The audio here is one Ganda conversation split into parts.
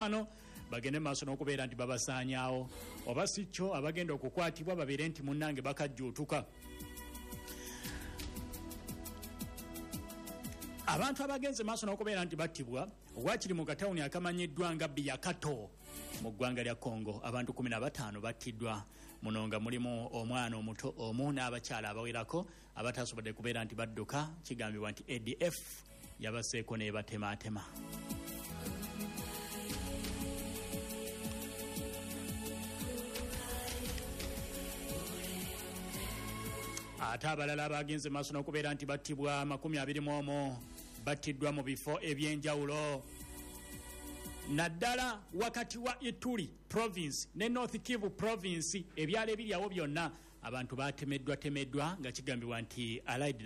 Bano bagende maaso n'okubeera nti babasaanyaawo, oba si kyo abagenda okukwatibwa babeere nti munnange bakajjuutuka. Abantu abagenze maaso n'okubeera nti battibwa wakiri mu katawuni akamanyiddwa nga Biyakato mu ggwanga lya Congo, abantu 15 battiddwa, muno nga mulimu omwana omuto omu n'abakyala abawerako abatasobodde kubeera nti badduka. Kigambibwa nti ADF yabaseeko n'ebatemaatema. Ate abalala abagenze maaso n'okubeera nti battibwa 21 battiddwa mu bifo ebyenjawulo, naddala wakati wa Ituri province ne North Kivu province. Ebyalo ebiri awo byonna abantu batemeddwatemeddwa nga kigambibwa nti Allied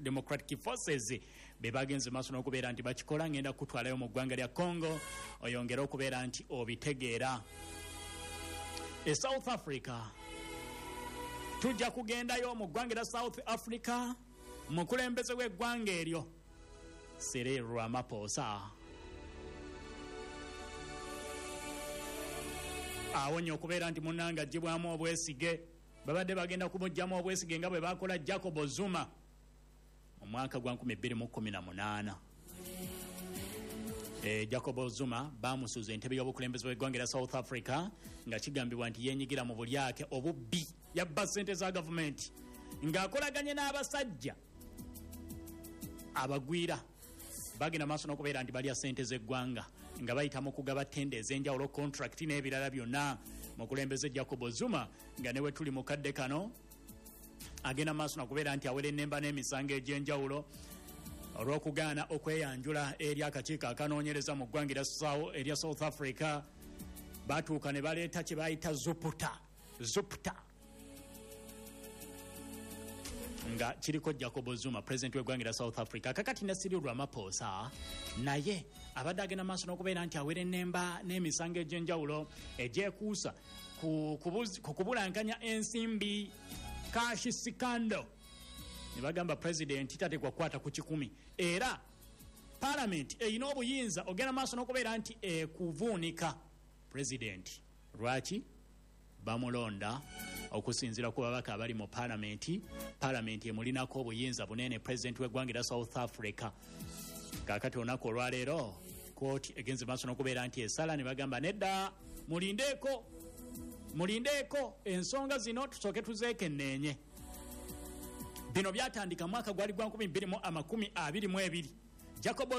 Democratic Forces be bagenze maaso n'okubeera nti bakikola. Ngenda kutwalayo mu ggwanga lya Congo oyongere okubeera nti obitegeera. E South Africa, tujja kugendayo mu ggwanga lya South Africa, mukulembeze w'eggwanga eryo Cyril Ramaphosa awonye okubeera nti munnange aggyibwamu obwesige. Babadde bagenda kumuggyamu obwesige nga bwe bakola Jacob Zuma mu mwaka gwa 2018. Jacob Zuma bamusuuza entebe y'obukulembeze bw'eggwanga erya South Africa nga kigambibwa nti yenyigira mu bulyake, obubbi, yabba ssente za gavumenti ng'akolaganye n'abasajja abagwira. Bagenda maaso n'okubeera nti balya ssente z'eggwanga nga bayita mu kugaba tenda ez'enjawulo, contract n'ebirala byonna. Mukulembeze Jacob Zuma nga ne we tuli mu kadde kano agenda maaso nakubeera nti awera ennemba n'emisango egy'enjawulo olw'okugaana okweyanjula eri akakiiko akanoonyereza mu ggwanga erya South Africa. Batuuka ne baleeta kye bayita Zupta, Zupta nga kiriko Jacob Zuma, president w'eggwanga erya South Africa. Kakati ne Cyril Ramaphosa naye abadde agenda maaso n'okubeera nti awera ennemba n'emisango egy'enjawulo egyekuusa ku kubulankanya ensimbi, cash scandal, ne bagamba pulezidenti tateekwa kukwata ku 100, era palamenti erina obuyinza ogenda maaso n'okubeera nti ekuvuunika pulezidenti. Lwaki bamulonda? Okusinziira ku babaka abali mu palamenti, palamenti emulinako obuyinza bunene pulezidenti w'eggwanga erya South Africa. Kaakati olunaku olwaleero kooti egenze maaso n'okubeera nti esala ne bagamba nedda, mulindeeko, mulindeeko, ensonga zino tusooke tuzeekenneenye. Bino byatandika mwaka gwali gwa 2022, Jacob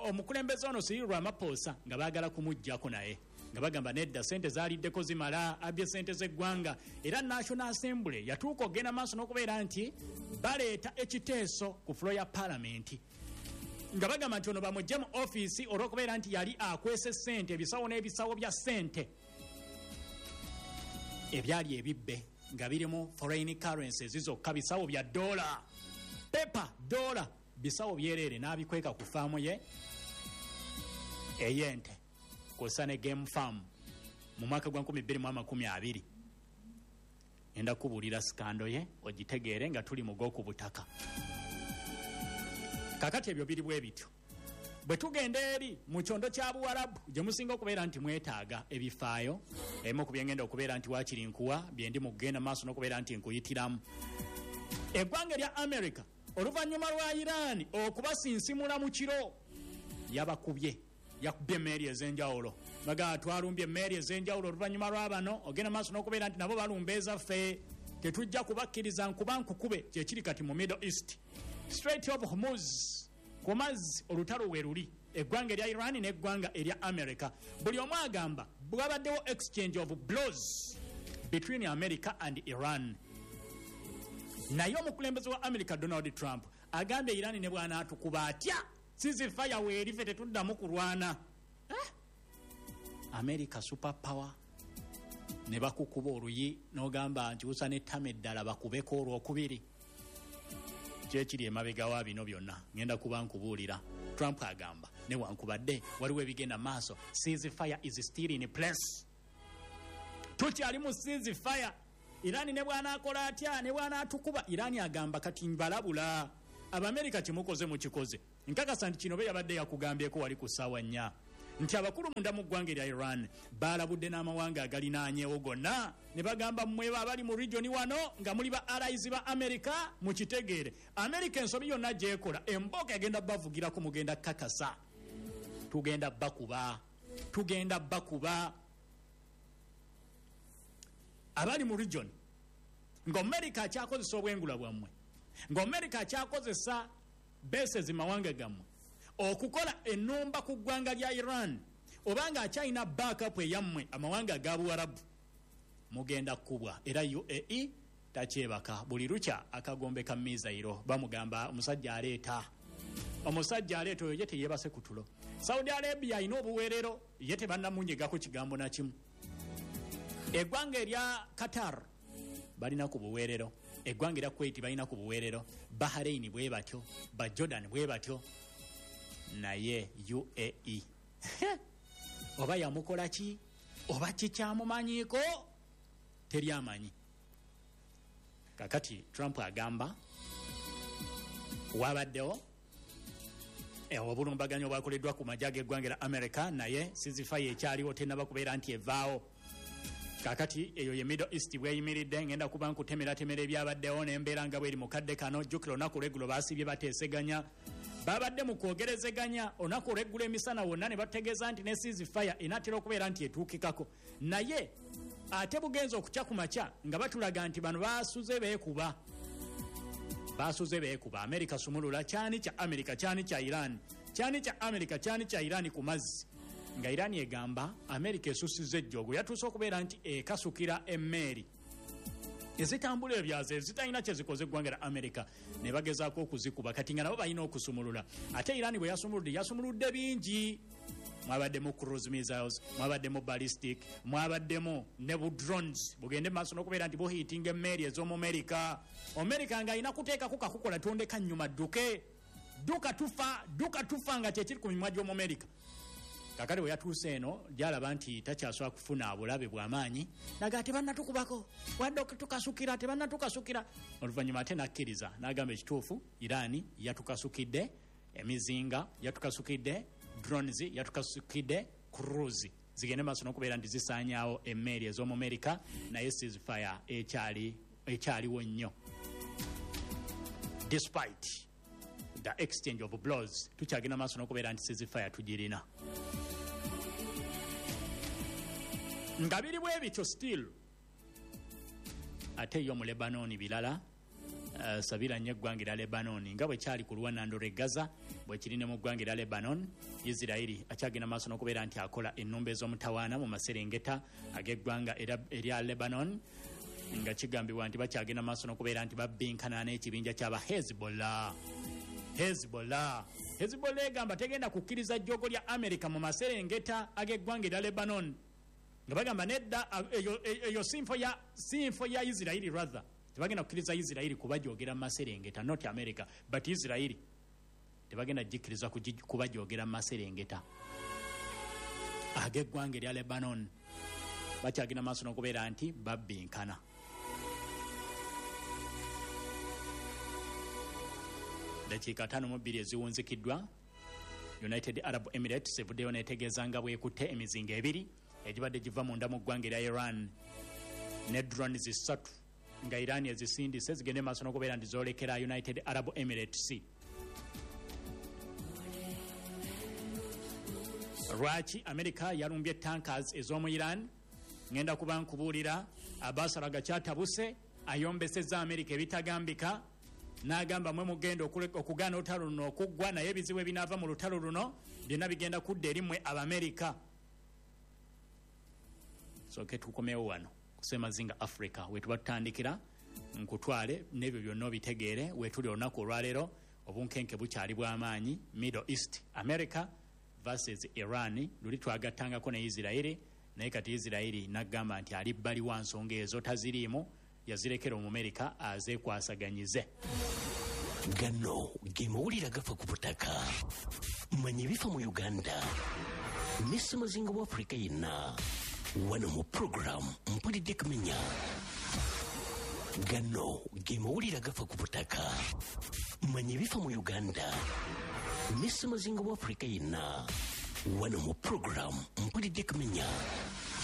omukulembeze ono Cyril Ramaphosa nga baagala kumuggyako, naye nga bagamba nedda, sente zaaliddeko zimala, abbye sente z'eggwanga. Era National Assembly yatuuka okugenda maaso n'okubeera nti baleeta ekiteeso ku floor ya palamenti nga bagamba nti ono bamugye mu ofiisi olw'okubeera nti yali akwese sente, ebisawo n'ebisawo bya sente ebyali ebibbe nga birimu foreign currencies zokka, bisawo bya dola, paper dola, bisawo byereere, n'abikweka ku faamu ye ey'ente kw'ossa ne game farm mu mwaka gwa 2020. Ngenda kubuulira scandal ye ogitegeere nga tuli mu gw'oku butaka. Kakati ebyo biri bwe bityo. Bwe tugenda eri mu kyondo kya Buwarabu gye musinga okubeera nti mwetaaga ebifaayo, ebimu ku byengenda okubeera nti waakiri nkuwa byendi mu kugenda maaso n'okubeera nti nkuyitiramu. Eggwanga erya America, oluvannyuma lwa Iran okubasinsimula mu kiro, yabakubye, yakubye emmeeri ez'enjawulo. Bagaa twalumbye emmeeri ez'enjawulo oluvannyuma lwa bano ogenda maaso n'okubeera nti nabo balumba ezaffe, tetujja kubakkiriza nkuba nkukube. Kyekiri kati mu Middle East, Strait of Hormuz, ku mazzi olutalo we luli, eggwanga erya Iran n'eggwanga erya America. Buli omu agamba bwabaddewo exchange of blows between America and Iran, naye omukulembeze wa America Donald Trump agambye Iran ne bw'anaatukuba atya, ceasefire weeri, ffe tetuddamu kulwana. Eh? America super power, ne bakukuba oluyi n'ogamba nkyusa n'ettama eddala bakubeko olwokubiri. Kyekiri emabega wa bino byonna ngenda kuba nkubuulira. Trump agamba newankubadde waliwo ebigenda maaso, ceasefire is still in place, tukyali mu ceasefire. Iran ne bw'anaakola atya, ne bw'anaatukuba, Iran agamba kati mbalabula Abamerika, kimukoze mukikoze. Nkakasa nti kino be yabadde yakugambyeko wali ku ssaawa 4. Nti abakulu munda mu ggwanga erya Iran balabudde n'amawanga agalinaanyewo gonna ne bagamba, mmwe abali mu region wano nga muli ba allies ba America, mukitegeere, America ensobi yonna gyekola emboga egenda bavugirako, mugenda kakasa, tugenda bakuba, tugenda bakuba. Abali mu region nga America akyakozesa obwengula bwammwe, nga America akyakozesa bases mawanga gammwe okukola ennumba ku ggwanga lya Iran, obanga akyalina backup eyammwe amawanga aga Buwarabu, mugenda kkubwa. Era UAE takyebaka, buli lukya akagombe ka mizayiro bamugamba omusajja aleeta, omusajja aleeta oyo ye teyebase ku tulo. Saudi Arabia alina obuweerero, ye tebannamunyegako kigambo na kimu. Eggwanga erya Qatar balina ku buweerero, eggwanga erya Kuwait balina ku buweerero, Bahrain bwe batyo, ba Jordan bwe batyo, naye UAE oba yamukola ki oba kikyamumanyiiko teri amanyi. Kakati Trump agamba wabaddewo obulumbaganyi obwakoleddwa ku magye ag'eggwanga lya America, naye ceasefire ekyaliwo tennaba kubeera nti evaawo. Kakati eyo ye Middle East bweyimiridde. Ngenda kuba nkutemeratemera ebyabaddewo n'embeera nga bweri mu kadde kano. Jjukira olunaku olweggulo baasibye bateeseganya, babadde mu kwogerezeganya olunaku olweggulo emisana wonna ne bategeeza nti ne ceasefire enaatera okubeera nti etuukikako, naye ate bugenza okukya ku makya nga batulaga nti bano basuze beekuba, basuze beekuba. Amerika sumulula kyani kya Amerika, kyani kya Iran, kyani kya Amerika, kyani kya Iran ku mazzi, nga Iran egamba Amerika esusiza ejjoogo, yatuuse okubeera nti ekasukira emmeeri ezitambula ebyazo ezitalina kyezikoze eggwanga lya Amerika ne bagezaako okuzikuba. Kati nga nabo balina okusumulula. Ate Iran bwe yasumuludde, yasumuludde bingi, mwabaddemu cruise missiles, mwabaddemu ballistic, mwabaddemu ne bu drones bugende maaso n'okubeera nti buhiitinga emmeeri ez'omu Amerika. Amerika ng'alina kuteekako kakukola tondeka nnyuma, dduke, dduka tufa, dduka tufa, nga kyekiri ku mimwa gy'omu Amerika. Kakati bwe yatuuse eno gyalaba nti takyasobola kufuna bulabe bw'amaanyi, naga tebannatukubako wadde tukasukira, tebannatukasukira. Oluvannyuma ate nakkiriza n'agamba ekituufu, Iran yatukasukidde emizinga, yatukasukidde drones, yatukasukidde cruise zigende maaso n'okubeera nti zisaanyaawo emmeeri ez'omu Amerika, naye ceasefire ekyaliwo nnyo. Despite the exchange of blows, tukyagenda maaso n'okubeera nti ceasefire tugirina. Nga biri bwe bityo still, ate yo mu Lebanon birala. Sabira nnyo eggwanga erya Lebanon nga bwe kyali ku lwanando lw'e Gaza, bwe kiri ne mu ggwanga erya Lebanon. Isirairi akyagenda maaso n'okubeera nti akola ennumba ez'omutawaana mu maserengeta ag'eggwanga erya Lebanon, nga kigambibwa nti bakyagenda maaso n'okubeera nti babbinkana n'ekibinja ky'aba Hezbollah. Hezbollah, Hezbollah egamba tegenda kukkiriza jjogo lya Amerika mu maserengeta ag'eggwanga erya Lebanon, nga bagamba nedda, eyo sinfo ya Isirairi, rather tebagenda kukkiriza Isirairi kubajogera mu maserengeta, not America but Isirairi tebagenda gikkiriza kubajogera mu maserengeta ag'eggwanga erya Lebanon. Bakyagenda maaso n'okubeera nti babbinkana. Dakiika 52 eziwunzikiddwa, United Arab Emirates evuddeyo n'etegeeza nga bwekutte emizinga ebiri egibadde giva munda mu ggwanga erya Iran ne drones 3 nga Iran ezisindise zigende maaso n'okubeera nti zoolekera United Arab Emirates. Lwaki Amerika yalumbye tankers ez'omu Iran? Ngenda kuba nkubuulira. Abbas Araghchi ayombesezza Amerika ebitagambika n'agamba mwe mugenda okugaana olutalo luno okuggwa, naye ebizibu ebinaava mu lutalo luno byonna bigenda kudda eri mmwe Abamerika. Soke tukomewo wano kusemazinga Africa wetuba tutandikira, nkutwale n'ebyo byonna obitegeere. Wetuli olunaku olwaleero obunkenke bukyali bw'amaanyi Middle East, America versus Iran. Luli twagattangako ne Isirairi, naye kati Isirairi n'agamba nti ali bbali wa nsonga ezo taziriimu, yazirekera Omumerika azeekwasaganyize. Gano ge mawulire agafa ku butaka. Manya ebifa mu Uganda ne ssemazinga wa Afrika yenna wano mu puroguramu Mpulidde Kumenya. Gano ge mawulire agafa ku butaka. Manya ebifa mu Uganda ne ssemazinga wa Afrika yenna Wano mu puroguramu Mpulidde Kumenya.